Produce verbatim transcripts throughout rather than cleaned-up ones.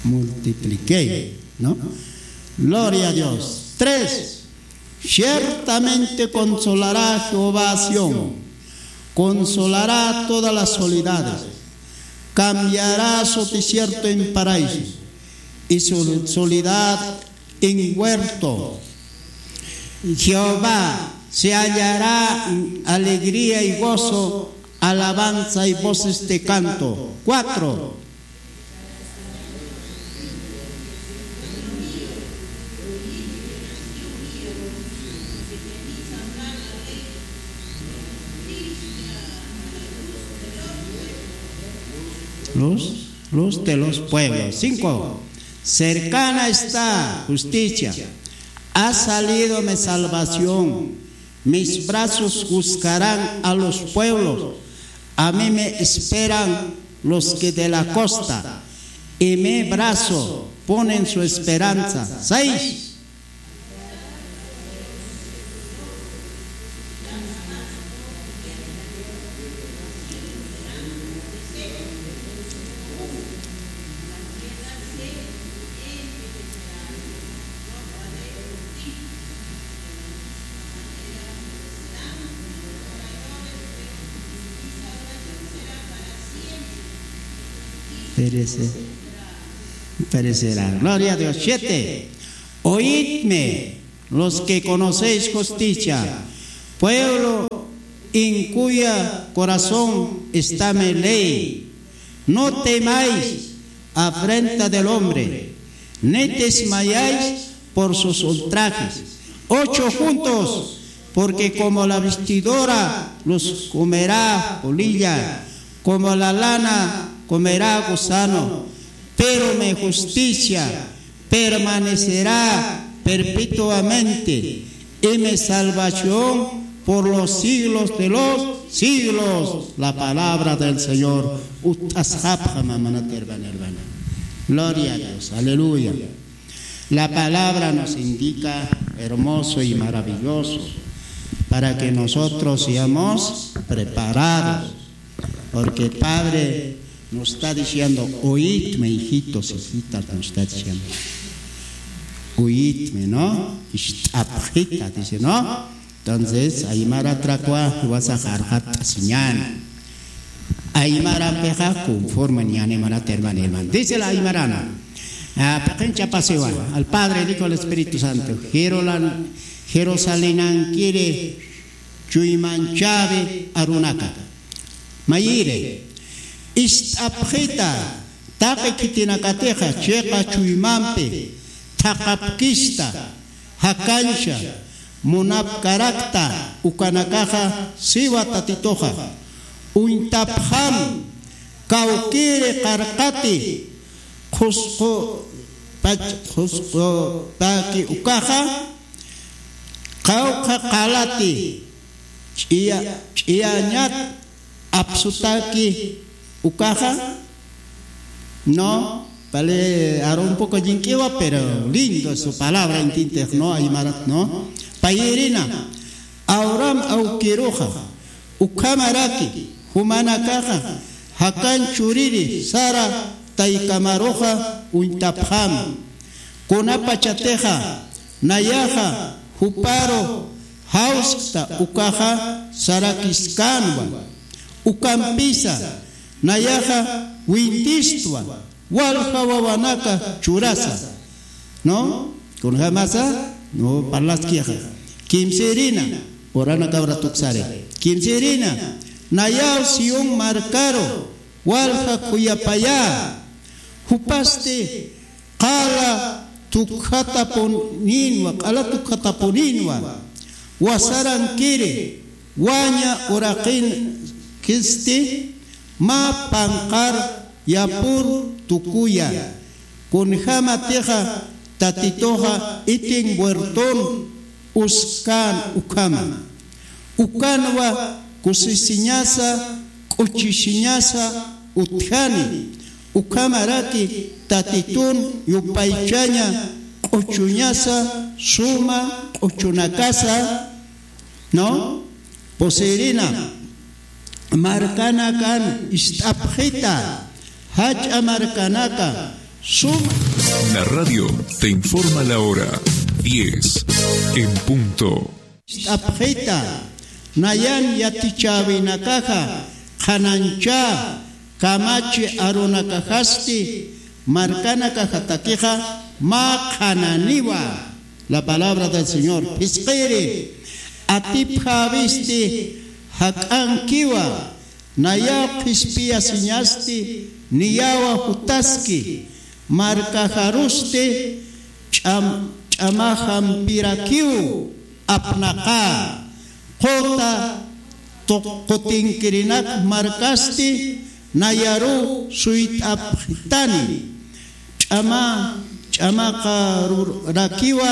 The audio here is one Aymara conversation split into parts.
multipliqué, ¿no? Gloria a Dios. Tres, ciertamente consolará Jehová a Sión, consolará todas las soledades, cambiará su desierto en paraíso y su soledad en huerto. Jehová se hallará alegría y gozo, alabanza y voces de canto. Cuatro. Luz, luz de los pueblos. Cinco. Cercana está justicia. Ha salido mi salvación. Mis brazos juzgarán a los pueblos. A mí me esperan los que de la costa, y mi brazo ponen su esperanza. Seis. Perece-, perecerá. Gloria a Dios. Siete. Oídme, los que conocéis justicia, pueblo en cuya corazón está mi ley. No temáis afrenta del hombre, ni desmayáis por sus ultrajes. Ocho juntos, porque como la vestidura los comerá polilla, como la lana comerá gusano, pero mi justicia permanecerá perpetuamente, y mi salvación por los siglos de los siglos. La palabra del Señor. Ut'asxapxam, hermana, hermana. Gloria a Dios. Aleluya. La palabra nos indica hermoso y maravilloso para que nosotros seamos preparados. Porque el Padre nos está diciendo, oídme, hijitos, hijitas, nos está diciendo. Oídme, ¿no? Ist'apxita, dice, ¿no? Entonces, aymara trakwa, wasa jarjat siñan. Aymara peja conforme ñan, hermana, hermana, hermana. Dice la aymarana. Ah, pequen chapasiwa. Al Padre, al Hijo, al Espíritu Santo. Jerolan-, Jerusalenankiri chuymanchawi arunaka. Mayiri, ist'apxita, taqi khitinakatixa chiqa chuymampi thaqhapkista, jakancha, munapkarakta ukanakaxa siwa Tatituxa, uñtapxam, kawkiri qarqati, qhusqu pach-, qhusqu paki ukaxa, qawqha qalati, ch'iya-, ch'iyañat apsutaki ukaxa, ¿no? Vale, ahora un poco llink'iwa, pero lindo es su palabra, entiendes, ¿no? Aymarat, ¿no? Payirina, awram awkiruxa, ukhamaraki, jumanakaxa, jakan churiri, sara taykamaruxa, uñtapxam. Kunapachatixa, nayaxa, juparu, jawskta, ukaxa, sarakiskanwa. Ukampisa, nayaxa, wintistwa, walja wawanaka churasa. ¿No? Kunjamasa, no, parlaskixa. Kimsirina, urana cabra tuksare. Kimsirina, nayaw Sión markaru, walja khuyapaya. Jupasti, qala tukjatapuninwa, qala tukjatapuninwa, wasarankiri, waña uraqinkisti, mä panqar yapur tukuya, kunjamatixa Tatituxa itin huerton uskan ukhama. Ukanwa kusisiñasa, k'uchisiñasa utjani, ukhamaraki Tatitun yupaychaña k'uchuñasa suma k'uchunakasa, ¿no? Poseerina, markanakan ist'apxita, jach'a markanaka, Suma. La radio te informa la hora, diez en punto. Ist'apxita, nayan yatichäwinakaxa qhananchä kamachi arunakaxasti markanakaxatakixa mä qhananiwa. La palabra del Señor. Phisqiri, atipjäwisti jak'ankiwa, nayaw qhispiyasiñasti niyawa jutaski, markaxarusti ch'am-, ch'amaxampirakiw apnaqä, quta tuq-, qutinkirinak markasti nayaruw suyt'apxitani, ch'ama-, ch'amaqarurakiwa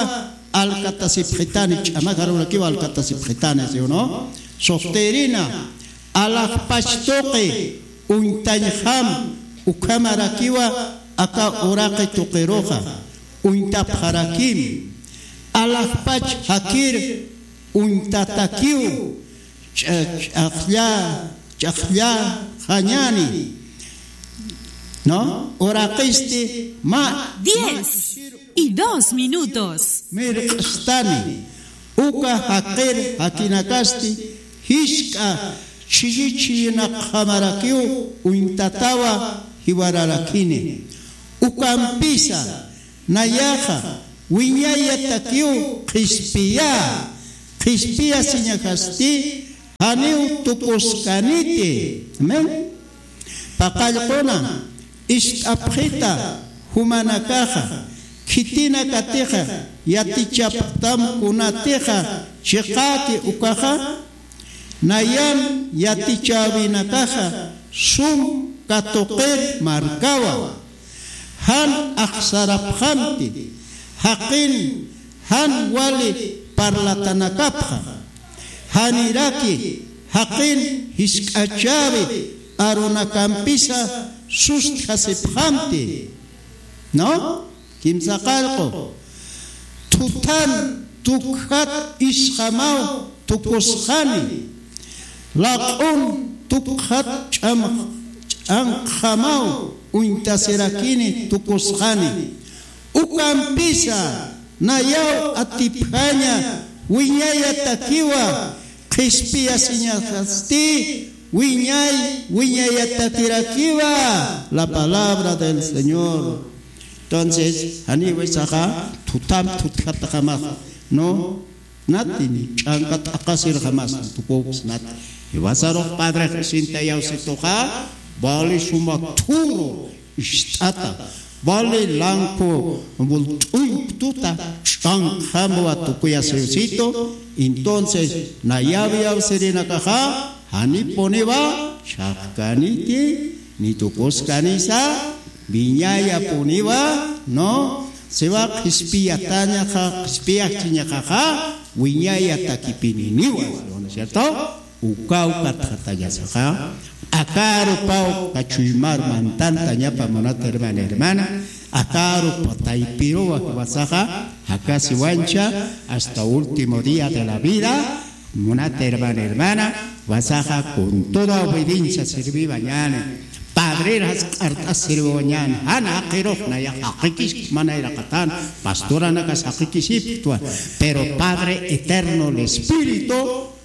alkatasipxitani, ch'amaqarurakiwa alkatasipxitani, ¿sí o no? Suxtïrina, alaxpach tuqi uñtañjam ukhamarakiwa aka uraqi tuqiruxa uñtapxarakim, alaxpach jakir uñtatakiw ch'a-, ch'aqlla-, ch'aqllaxañäni, ¿no? Uraqisti mä, diez y dos minutos. Mirq'stani, uka jaqir jakinakasti jisk'a chhilli chhillinakxamarakiw uñtatawa jiwararakini. Ukampisa, nayaxa wiñayatakiw qhispiyä, qhispiyasiñaxasti janiw tukuskaniti. Amén. Paqallquna, ist'apxita jumanakaxa, khitinakatixa yatichapxtam kunatixa chiqäki ukaxa, nayan yatichäwinakaxa sum katuqir markawa. Jan axsarapxamti, jaqin jan wali parlatanakapxa. Janiraki jaqin jisk'achäwi arunakampisa sustjasipxamti. ¿No? Kimsa qallqu. Thutham tukjat isxamaw tukusxani. Laq'um tukjat ch'am-, ch'anqjamaw uñtasirakini tukusxani. Ukampisa nayaw atipjaña wiñayatakiwa, qhispiyasiñaxasti wiñay, wiñayatakirakiwa. La palabra del Señor. Entonces, janiw isaxa thutham thuthjatxamax, ¿no? Natin, ch'anka t'aqasirxamas, tukuksnat. Jiwasarux padrex isinta yawsituxa, vale suma thuru, ist'ata, vale lanku, bult'uy tuta, ch'anqjamwa tukuyasirsitu. Entonces, nayaw yawsirinakaxa, janipuniwa chhaqkaniti, ni tukuskanisa, wiñayapuniwa, ¿no? Siwa qhispiyatañaxa, qhispiyachiñaxaxa, wiñayatakipininiwa, ¿no es cierto? Ukaw katxatañasaxa, akaru ukaw kachuymar mantantañapa munat hermana, hermana, akaru pataypiruwa jiwasaxa, jakasiwancha hasta último día de la vida, munat hermana, hermana, jiwasaxa con toda obediencia serviwañäni. Padreras q'art'as serviwañäni. Jan jaqirux nayax jaqikis, mana iraqatan, pastoranakas jaqikisipktwa. Pero Padre eterno, el Espíritu,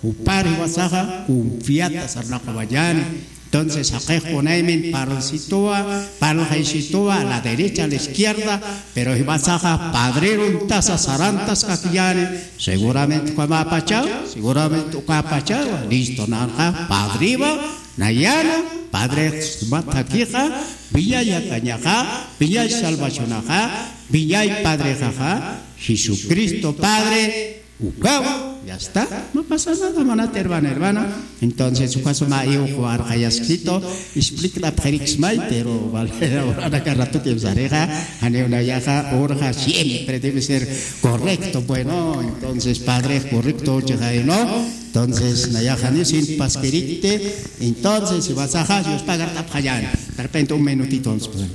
jupar jiwasaxa confiata sarnaqawañäni. Entonces, jaqix kunaymin parlsituwa, parlxaysituwa, a la derecha, a la izquierda, pero jiwasaxa padrerun tasa sarantas kakiñäni, seguramente ukamäpachaw, seguramente ukapachaw, listo, nanxa padriwa, nayana, padre, suma thakixa, wiñay yaqañaxa, wiñay salvacionaxa, wiñay padrexaxa, Jesucristo Padre, ukaw, ya está. No pasa nada, munat hermana, hermana. Entonces, uka suma iwxu arxayaskito, explikt'apxiriksmay, pero vale la hora, aka ratukim sarixa, janiw nayaxa, urxa siempre debe ser correcto, bueno, entonces, padre, correcto, chixay, ¿no? Entonces, nayaxa ni sin paskirikti, entonces, jiwasaxa, Dios pagart'apxañäni. De repente, un minutito, entonces, pues,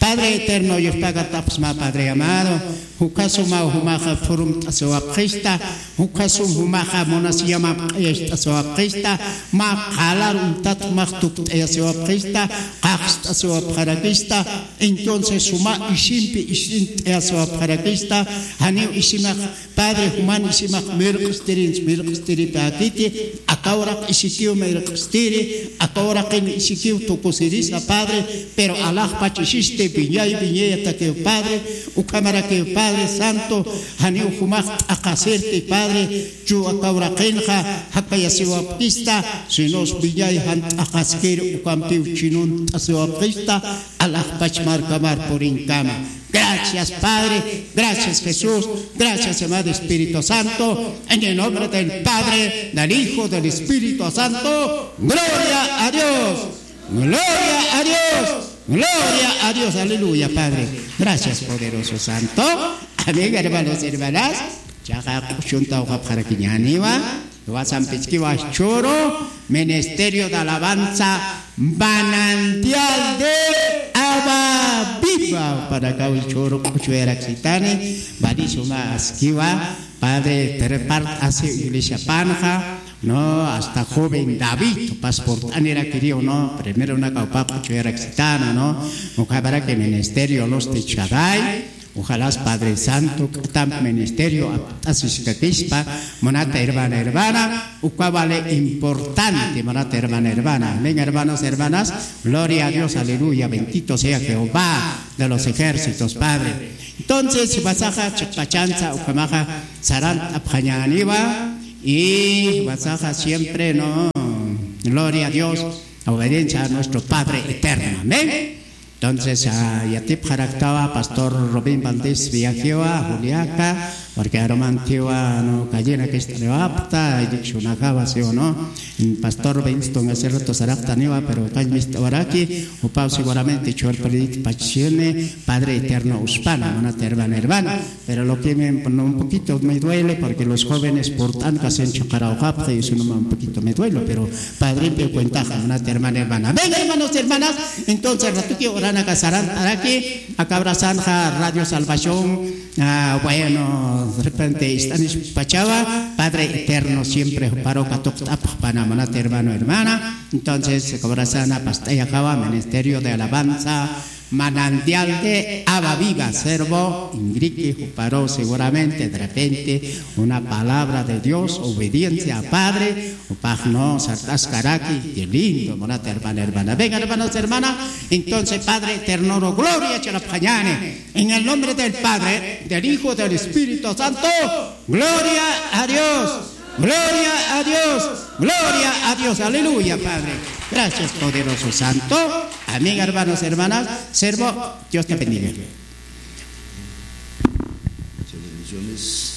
Padre eterno, yuspagart'apxsma, Padre amado, jukha suma jumaxa furumt'asiwapxista, jukha sum jumaxa munasiyamam q'ayacht'asiwapxista, mä qalar uñtat jumax tukt'ayasiwapxista, qajst'asiwapxarakista, entonces suma isimpi isint'ayasiwapxarakista, janiw isimax Padre, juman isimax mirq'stirinsa, mirq'stiripäkiti, aka uraq isikiw mirq'stiri, aka uraqin isikiw tukusirisa, Padre, pero alaxpach isisti, wiñay, wiñayatakiw, Padre, ukhamarakiw, Padre Santo, janiw jumax t'aqasirti, Padre, chu aka uraqinxa jakayasiwapkista, sinos wiñay jan t'aqaskir ukampiw chinunt'asiwapkista, alaxpach markamar purinkama. Gracias, Padre. Gracias, Jesús. Gracias, amado Espíritu Santo. En el nombre del Padre, del Hijo, del Espíritu Santo. Gloria a Dios. Gloria a Dios. Gloria a Dios. Aleluya, Padre. Gracias, poderoso Santo. Amén, hermanos, hermanas. Chaqa q'uchunta uqapxarakiñäniwa. Wasampichkiwa churu, Ministerio de Alabanza, Manantial de Agua Viva. Panakaw churu q'uchuyaraksitani, valisuma askiwa, Padre, prepart asi iglesia panxa, no, hasta joven David, pasport'anirakiriw, no, primero una caupa q'uchuyaraksitana, no, mukabaraki ministerio los de Shaddai, Ojalá Padre Santo, k'atamp ministerio apt'asiskakispa, munata hermana, hermana, uka vale importante, munata hermana, hermana. Amén, hermanos, hermanas. Gloria a Dios, aleluya, bendito sea Jehová de los ejércitos, Padre. Entonces, wasaxa chiqpachansa, ukhamaxa sarant'apxañäniwa, y wasaxa siempre, ¿no? Gloria a Dios, obediencia a nuestro Padre eterno. Amén. Entonces, ah, yatipxaraktawa pastor Robin Valdés Villajewa, Juliaca, porque arumantiwa, no, callena que estreopta, y dicho una java, ¿sí o no? Pastor Robin, esto en ese rato saraptaniwa, pero cañmista oraki, upau seguramente chorpelit pachine, Padre Eterno, uspana, manata hermana, hermana. Pero lo que me, no, un poquito me duele porque los jóvenes portan que hacen chaqarawqapxi, eso no, un poquito me duele, pero padre, pero cuenta, hermana, hermana, hermana. Ven, hermanos, hermanas. Entonces, ratuki orana casaran, araki, acabrazan ja Radio Salvación. Ah, bueno, de repente, están pachaba, Padre Eterno, siempre paro katuqt'apxpana, manata hermano, hermana. Entonces, acabrazana, pastaya java, Ministerio de Alabanza, Manantial de Agua Viva, servo, ingriki, juparo, seguramente, de repente, una palabra de Dios, obediencia a Padre, upajno, sartaskaraki, qué lindo, manata hermana, hermana. Venga, hermanos, hermana, entonces, Padre eterno, gloria, chalapañane, en el nombre del Padre, del Hijo, del Espíritu Santo, gloria a Dios. Gloria a Dios. Gloria a Dios. Aleluya, Padre. Gracias, poderoso Santo. Amén, hermanos, hermanas. Servo, Dios te bendiga. Muchas bendiciones.